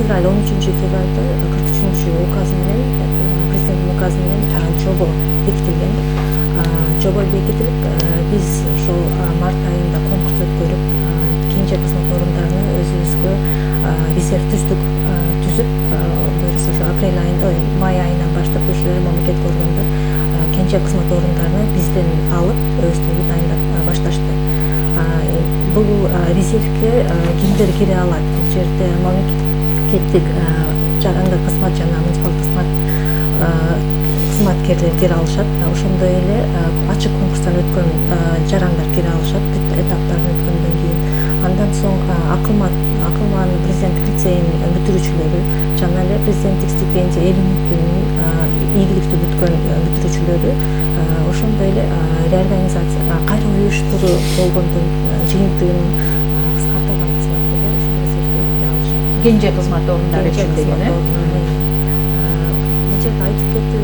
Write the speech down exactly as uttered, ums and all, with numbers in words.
февраль он үчүнчү февралда кырк үчүнчү указ менен, президенттин указы менен жобо бекитилген. Жобо бекитилип, биз ошол март айында конкурс өткөрүп, кенже кызмат орундарына өзүбүзгө резерв түздүк, түзүп, буюрса ошо апрель айында, май айынан баштап уже мамлекеттик органдар кенже кызмат орундарына бизден алып, өздөрү дайындап башташты. Бул резервге кимдер кире алат? Бул жерде мамлекеттик жарандык кызмат жана муниципалдык кызмат кызматкерлер кире алышат. Ошондой эле ачык конкурстан өткөн жарандар кире алышат, этаптарын өткөндөн кийин. Андан соң акылман акылман президенттик лицейинин бүтүрүүчүлөрү жана эле президенттик стипендия эл үмүтүнүн ийгиликтүү бүткөн бүтүрүүчүлөрү, ошондой эле реорганизация кайра уюштуруу болгондон жыйынтыгынын кыскартылган кызматкерлер ушул резервге кире алышат. Кенже кызмат орундары үчүн деген э? Бул жерде айтып кетүү